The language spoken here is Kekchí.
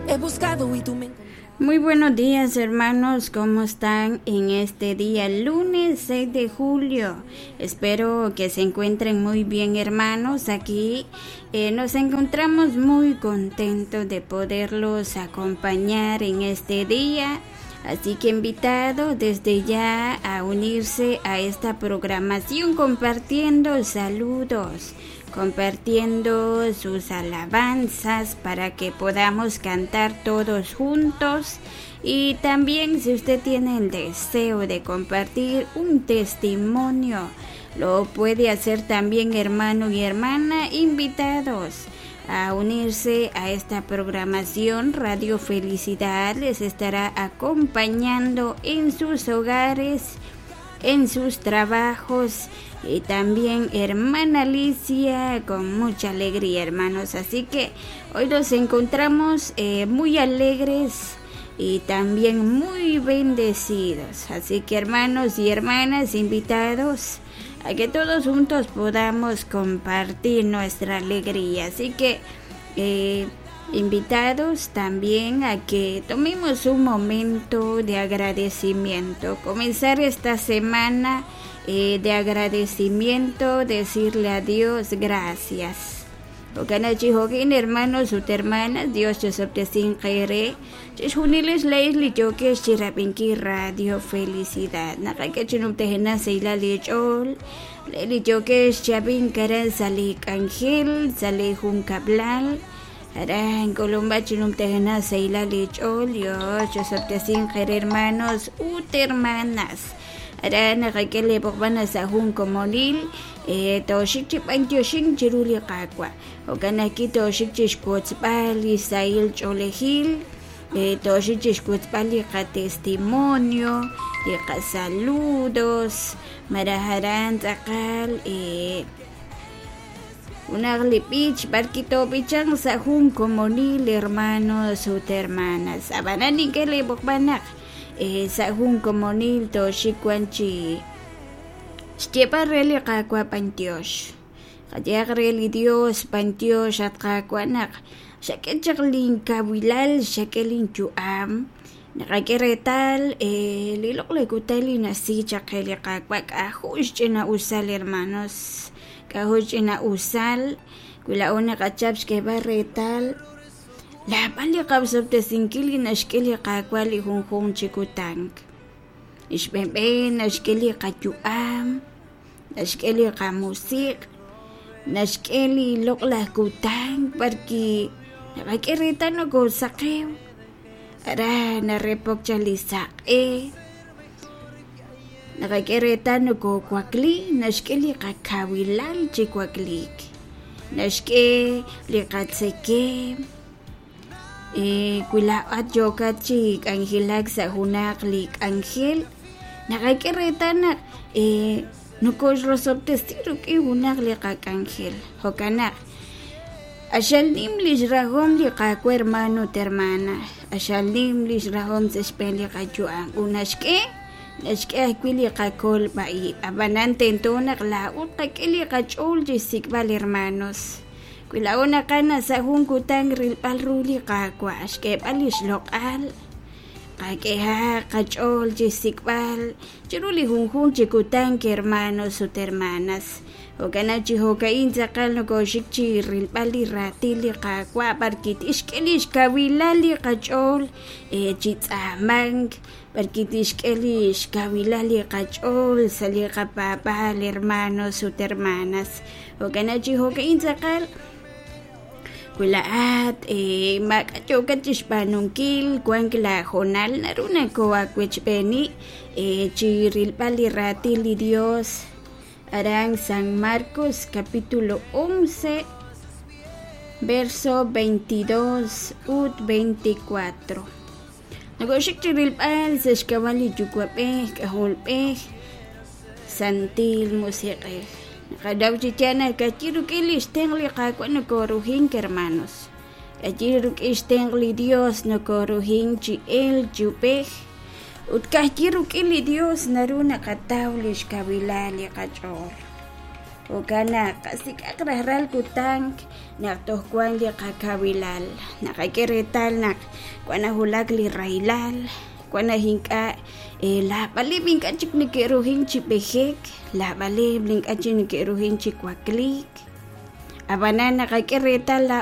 He buscado y tú me Muy buenos días hermanos, ¿cómo están en este día lunes 6 de julio? Espero que se encuentren muy bien hermanos. Aquí eh, nos encontramos muy contentos de poderlos acompañar en este día. Así que invitado desde ya a unirse a esta programación compartiendo saludos, compartiendo sus alabanzas para que podamos cantar todos juntos. Y también si usted tiene el deseo de compartir un testimonio, lo puede hacer también hermano y hermana invitados a unirse a esta programación. Radio Felicidad les estará acompañando en sus hogares, en sus trabajos y también hermana Alicia con mucha alegría, hermanos. Así que hoy los encontramos eh, muy alegres y también muy bendecidos. Así que hermanos y hermanas invitados a que todos juntos podamos compartir nuestra alegría. Así que eh, invitados también a que tomemos un momento de agradecimiento. Comenzar esta semana eh, de agradecimiento, decirle a Dios gracias. Jo'kan hermanos ut hermanas, Dios chosob'tesinq eere chixjunilex laa'ex li yookex chirab'inkil Radio Felicidad. Naqak'e chi numtajenaq sahilal eech'ool, le' li yookex chab'ink aran sa' li k'anjel, sa' li junkab'lal, aran k'ulub'aj chi numtajenaq sahilal eech'ool, Dios chosob'tesinq eere hermanos ut hermanas. Aran naqak'e li b'oqb'al sa' jun komonil, eh, tooxik chi b'antioxink chiru li Qaawa'. Jo'kan ajwi' tooxik chi xwotzb'al li sahil ch'oolejil, eh, tooxik chi xwotzb'al li qatestimonio, li qasaludos, malaj aran tz'aqal eh, junaq li b'ich b'arwi' toob'ichanq sa' jun komonil hermanos ut hermanas. Ab'anan nink'e li b'oqb'al naq eh, sa' jun komonil tooxik wan chi xyeeb'al re li Qaawa' b'antiox. Qayehaq re li Dios b'antiox at Qaawa' naq xak'e chaq linkawilal, xak'e linyu'am. Naqak'e reetal eh, li loq'laj kutan li nasi chaq qe li Qaawa' k'a'jo' xch'ina'usal hermanos, k'a'jo' xch'ina'usal wi laa'o naqachap xk'eeb'al reetal laab'al li qaosob'tesinkil li naxk'e li Qaawa' li junjunq chi kutan. Xb'een naxk'e li qayu'am, naxk'e li qamusiq', naxk'e li loq'laj kutan b'arwi' naqak'e reetal nokoosaqew, aran narepok chaq li saq'e, naqak'e reetal nokoowakli, naxk'e li qakawilal chi wakliik, naxk'e li qatzekemq. Eh, wi laa'at yookat chi k'anjelak sa' junaq li k'anjel, naqak'e reetal naq eh, nokoxrosob'tesi rik'in junaq li qak'anjel. Jo'kan naq q'axal nim li xrahom li Qaawa' hermano ut hermana, q'axal nim li xrahom sa' xb'een li qayu'am ut naxk'e naxk'e ajwi' li qakolb'a-ib'. Ab'anan tento naq laa'o tqak'e li qach'ool chi xsik'b'al hermanos. Wi laa'o naqana sa' jun kutan rilb'al ru li Qaawa', xk'eeb'al li xloq'al, qak'ehaq qach'ool chi xsik'b'al chiru li junjunq chi kutan hermanos ut hermanas. Jo'kan naq chi jo'ka'in tz'aqal nokooxik chi rilb'al li raatin li Qaawa' b'arwi' tixk'e li xkawilal li qach'ool eh, chi tz'aamank, b'arwi' tixk'e li xkawilal li qach'ool sa' li qapaab'aal hermanos ut hermanas. Jo'kan naq chi jo'ka'in tz'aqal wi laa'at eh, maak'a' yookat chi xb'aanunkil wank laahoonal naru nakoo'awechb'eeni eh, chi rilb'al li raatin li Dios aran San Marcos capítulo 11 verso 22 ut 24. Nakooxik chi rilb'al sa' xk'ab'a' li Yuwa'b'ej, K'ajolb'ej, Santil Musiq'ej. Naqanaw chi yaal naq ka'ajwi' rik'in li xtenq' li Qaawa' nokooruhink, hermanos. Ka'ajwi' rik'in xtenq' li Dios nokooruhink chi elk chi ub'ej. Ut ka'ajwi' rik'in li Dios naru naqataw li xkawilal li qach'ool. Jo'kan naq qasik'aq rajlal kutan naq toj wank li qakawilal. Naqak'e reetal naq wan nawulak li rahilal, wan naq ink'a' laabaleb' ink'a' chik neke'ruhin chi b'ejek, laabaleb' ink'a' chik neke'ruhin chi wakliik. Ab'anan naqak'e reetal laa'o.